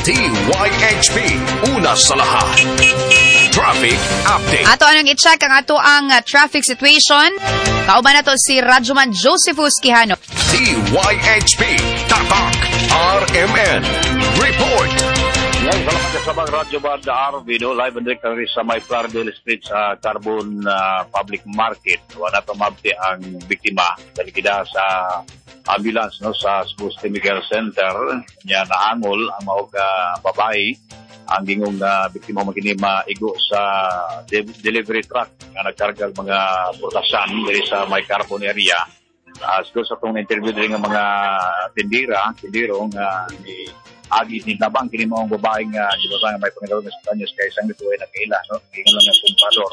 DYHP, una sa lahat. Traffic update. Ato anong i-check ang ato ang traffic situation. Kauban nato si Radyoman Josephus Quijano. DYHP, Tatak, RMN. Report. Yan, salamat sa mga Radyo Banda RV, no? Live and direct kami sa may Plaridel Street sa Carbon Public Market. Wala pa mabti ang biktima. Dalikida sa ambulance, no, sa Cebu City Medical Center. Nya naangol ang maog babae. Ang gingong biktima magini maigo sa delivery truck nga nagkarga og mga purtasan diri sa may Carbon area. Siguro sa itong interview diri nga mga tindiro nga ni agi ni nabang kini maong babae nga di ba nga may panginoon sa kanyas kay isang dito ay nakaila, no, ingon lang nga komprador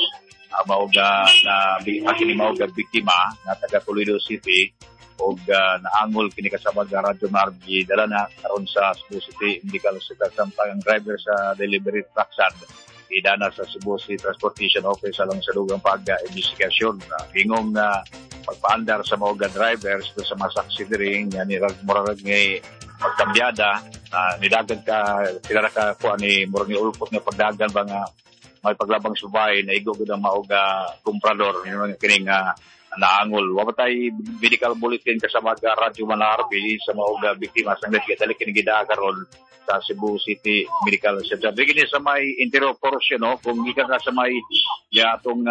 mao ga na kini mao ga biktima nga taga Toledo City og naangol kini kasama ga Radyo Margi dala na karon sa Cebu City Medical Center, samtang ang driver sa delivery truck sad idana sa Cebu City Transportation Office alang sa dugang pag-investigasyon. Ingong na pagpaandar sa mga drivers sa mga saksi diri nga ni murag ngay pagkambyada nidagan ka pila ka kuha ni murag ni ulpot nga pagdagan ba nga may paglabang subay na igo gud ang maog komprador nga kining naangol. Wa tay medical bulletin kasama ga Radyo Manarbi sa maog biktima sang dali kini gidaa karon sa Cebu City Medical Center. Dili sa may interior portion, no, kung gikan ka sa may yatong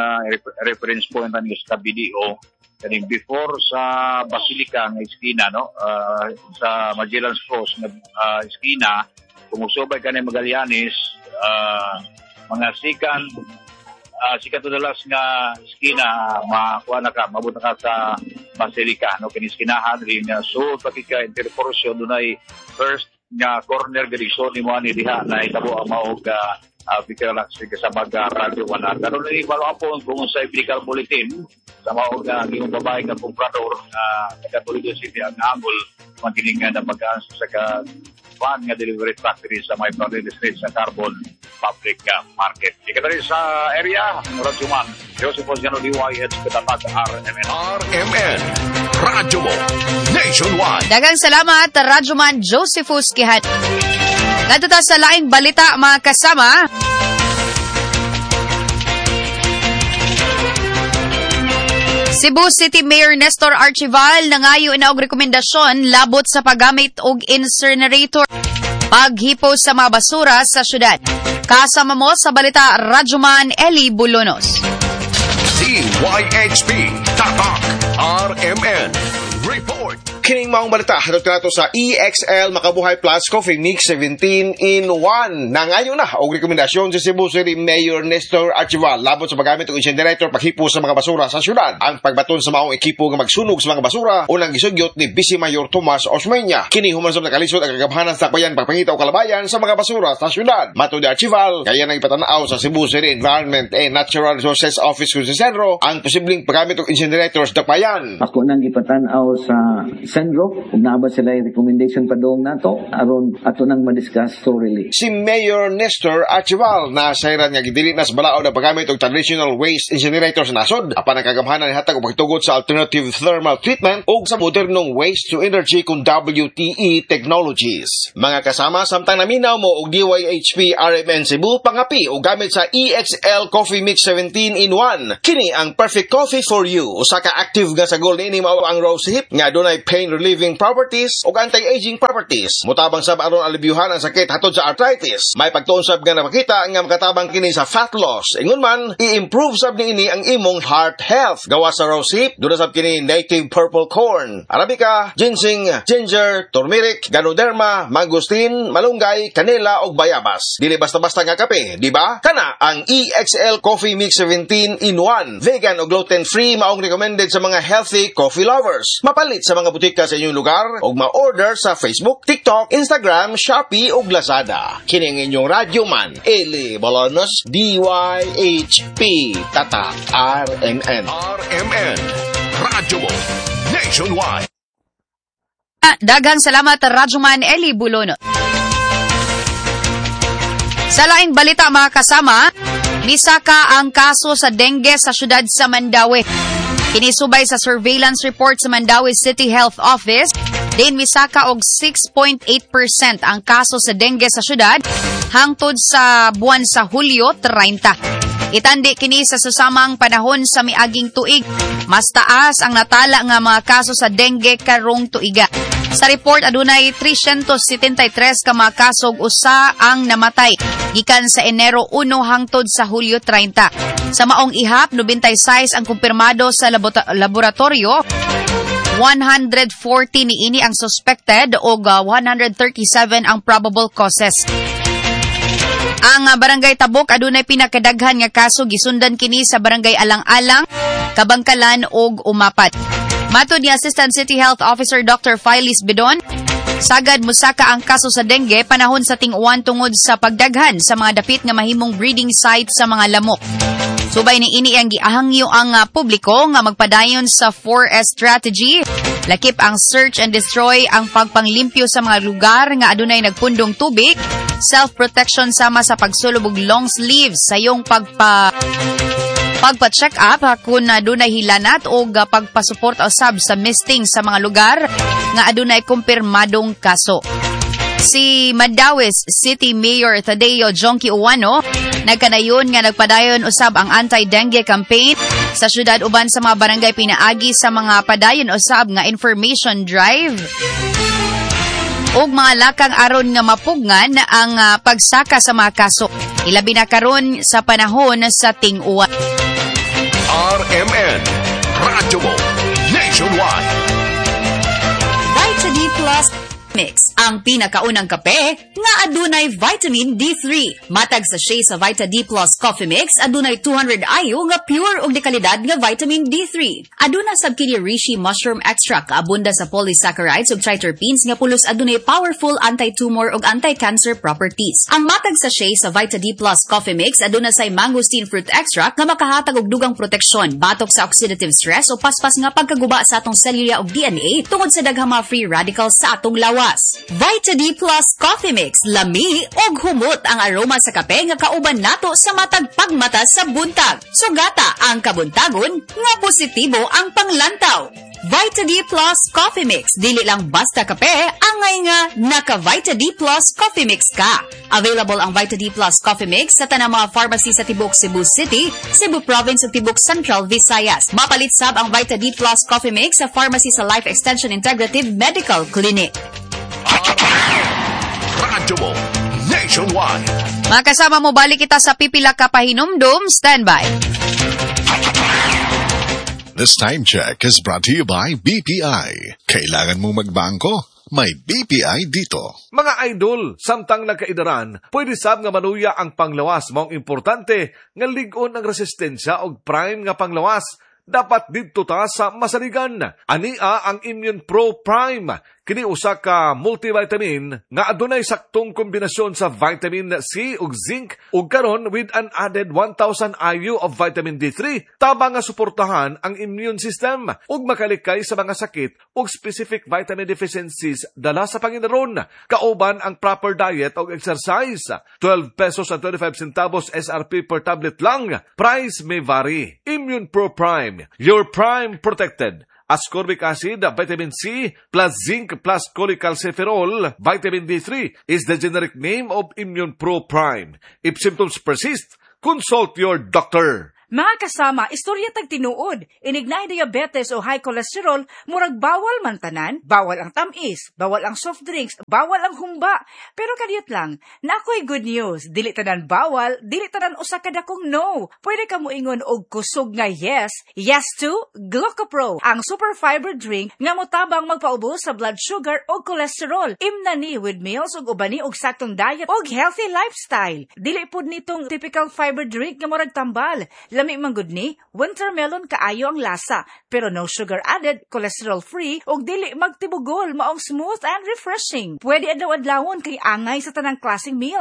reference point ani sa BDO kaning before sa Basilica nga iskina, no, sa Magellan's Cross nga iskina, kung usubay ka ni Magallanes, mga sikan sikat to dalas nga iskina, makuha na ka, mabot na ka sa Basilica, no, kini iskinahan rin nga so pati ka interior portion dunay first nga corner gadi so ni mo ani diha na itabo ang maog Victor kasama ga Radyo Manar. Karon ni balo apon kung sa medical bulletin sa maog gingong babae nga komprador taga Toledo City ang angol magkining nga nabagaan sa ka van nga delivery truck diri sa may Plaridel Street sa Carbon Public Market. Ika diri sa area Radyo Man Joseph Osgano, DYH Tatak RMN. RMN Radyo Mo Nationwide. Daghang salamat Radyoman Josephus Quijano. Ngadto ta sa laing balita mga kasama. Cebu City Mayor Nestor Archival nangayo na og rekomendasyon labot sa paggamit og incinerator paghipo sa mga basura sa syudad. Kasama mo sa balita Radyoman Eli Bolonos. DYHP Tatak RMN Report. Kining maong balita hatod kanato sa EXL Makabuhay Plus Coffee Mix 17 in 1. Nangayo na og rekomendasyon sa Cebu City Mayor Nestor Archival labot sa paggamit og incinerator paghipo sa mga basura sa syudad. Ang pagbaton sa maong ekipo nga magsunog sa mga basura unang gisugyot ni Vice Mayor Tomas Osmeña. Kini human sa nakalisod ang kagamhanan sa bayan pagpangita og kalabayan sa mga basura sa syudad. Matod ni Archival, kaya nang ipatan-aw sa Cebu City Environment and Natural Resources Office kung sa Senro ang posibleng paggamit og incinerators sa dakbayan. Ako nang ipatan-aw sa Senro, kung naa ba sila recommendation padung nato aron ato nang madiscuss thoroughly. Si Mayor Nestor Archival na sayran nga gidili na sa balaod ang paggamit og traditional waste incinerator sa nasod apan ang kagamhanan hatag og pagtugot sa alternative thermal treatment ug sa modernong waste to energy kung WTE technologies. Mga kasama, samtang naminaw mo og DYHP RMN Cebu, pangapi og gamit sa EXL Coffee Mix 17 in 1. Kini ang perfect coffee for you. Usa ka active nga sagol niini mao ang rose hip nga dunay pain relieving properties ug anti-aging properties. Mutabang sab aron alibyuhan ang sakit hatod sa arthritis. May pagtuon sab nga napakita nga makatabang kini sa fat loss. Ingon man, i-improve sab niini ang imong heart health. Gawa sa rose hip, duna sab kini native purple corn, arabica, ginseng, ginger, turmeric, ganoderma, mangosteen, malunggay, kanela ug bayabas. Dili basta-basta nga kape, di ba? Kana ang EXL Coffee Mix 17 in 1. Vegan o gluten-free maong recommended sa mga healthy coffee lovers. Mapalit sa mga butika sa inyong lugar o ma-order sa Facebook, TikTok, Instagram, Shopee o Lazada. Kini ang inyong radyo man, Eli Bolonos, DYHP, Tatak RMN. RMN Radyo Mo Nationwide. Daghang salamat Radyoman Eli Bolonos. Sa laing balita mga kasama, misaka ang kaso sa dengue sa syudad sa Mandaue. Kinisubay sa surveillance report sa Mandaue City Health Office, Din misaka og 6.8% ang kaso sa dengue sa syudad hangtod sa buwan sa Hulyo 30. Itandi kini sa susamang panahon sa miaging tuig. Mas taas ang natala nga mga kaso sa dengue karong tuiga. Sa report, adunay 373 ka mga kaso ug usa ang namatay gikan sa Enero 1 hangtod sa Hulyo 30. Sa maong ihap, 96 ang kumpirmado sa laboratorio, 140 niini ang suspected ug 137 ang probable causes. Ang Barangay Tabok adunay pinakadaghan nga kaso, gisundan kini sa Barangay Alang-alang, Kabangkalan ug Umapad. Matod ni Assistant City Health Officer Dr. Phyllis Bidon, sagad musaka ang kaso sa dengue panahon sa ting-uwan tungod sa pagdaghan sa mga dapit nga mahimong breeding site sa mga lamok. Subay ni ini ang giahangyo ang publiko nga magpadayon sa 4S strategy, lakip ang search and destroy, ang pagpanglimpyo sa mga lugar nga adunay nagpundong tubig, self-protection sama sa pagsulob og long sleeves, sayong pagpa-check up kung adunay hilanat o pagpasuporta usab sa misting sa mga lugar nga adunay kumpirmadong kaso. Si Mandaue City Mayor Tadeo Jonkie Ouano nagkanayon nga nagpadayon usab ang anti-dengue campaign sa syudad uban sa mga barangay pinaagi sa mga padayon usab nga information drive ug mga lakang aron nga mapugngan ang pagsaka sa mga kaso, ilabi na karon sa panahon sa ting-uwan. RMN Radyo Mo Nationwide. Vita D Plus Mix, ang pinakaunang kape nga adunay vitamin D3. Matag sachet sa Vita D Plus Coffee Mix adunay 200 IU nga pure ug dekalidad nga vitamin D3. Aduna sab kini reishi mushroom extract, abunda sa polysaccharides ug triterpenes nga pulos adunay powerful anti-tumor ug anti-cancer properties. Ang matag sachet sa Vita D Plus Coffee Mix aduna say mangosteen fruit extract nga makahatag og dugang proteksyon batok sa oxidative stress o paspas nga pagkaguba sa atong selula ug DNA tungod sa daghang mga free radicals sa atong lawas. Vita D Plus Coffee Mix, lami og humot ang aroma sa kape nga kauban nato sa matag pagmata sa buntag. Sugata ang kabuntagon nga positibo ang panglantaw. Vita D Plus Coffee Mix, dili lang basta kape, angay nga naka Vita D Plus Coffee Mix ka. Available ang Vita D Plus Coffee Mix sa tanang mga pharmacy sa tibok Cebu City, Cebu Province ug tibok Central Visayas. Mapalit sab ang Vita D Plus Coffee Mix sa pharmacy sa Life Extension Integrative Medical Clinic. Radyo Mo Nationwide. Mga kasama mo, balik kita sa pipila ka pahinumdum. Standby. This time check is brought to you by BPI. Kailangan mong magbangko? May BPI dito. Mga idol, samtang nagkaidaran, pwede sab nga maluya ang panglawas, maong importante nga lig-on ang resistensya og prime nga panglawas. Dapat didto ta sa masaligan. Ania ang Immune Pro Prime. Kini usa ka multivitamin nga adunay saktong kombinasyon sa vitamin C ug zinc ug karon with an added 1000 IU of vitamin D3, tabang nga suportahan ang immune system ug makalikay sa mga sakit ug specific vitamin deficiencies dala sa panginaron. Kauban ang proper diet ug exercise. 12 pesos and 25 centavos SRP per tablet lang. Price may vary. Immune Pro Prime, your prime protected. Ascorbic acid, vitamin C, plus zinc plus cholecalciferol, vitamin D3 is the generic name of Immune Pro Prime. If symptoms persist, consult your doctor. Mga kasama, istorya tag tinuod. Inig naay diabetes o high cholesterol, murag bawal man tanan, bawal ang tamis, bawal ang soft drinks, bawal ang humba. Pero kadiyot lang, naa ko'y good news. Dili tanan bawal, dili tanan usa ka dakong no. Pwede ka moingon og kusog nga yes. Yes to Glucopro, ang super fiber drink nga motabang magpaubos sa blood sugar o cholesterol. Imna ni with meals ug ubani og saktong diet og healthy lifestyle. Dili pud nitong typical fiber drink nga murag tambal. Lami man gud ni, winter melon kaayo ang lasa, pero no sugar added, cholesterol free, ug dili magtibugol, maong smooth and refreshing. Pwede adlaw-adlawon kay angay sa tanang klaseng meals.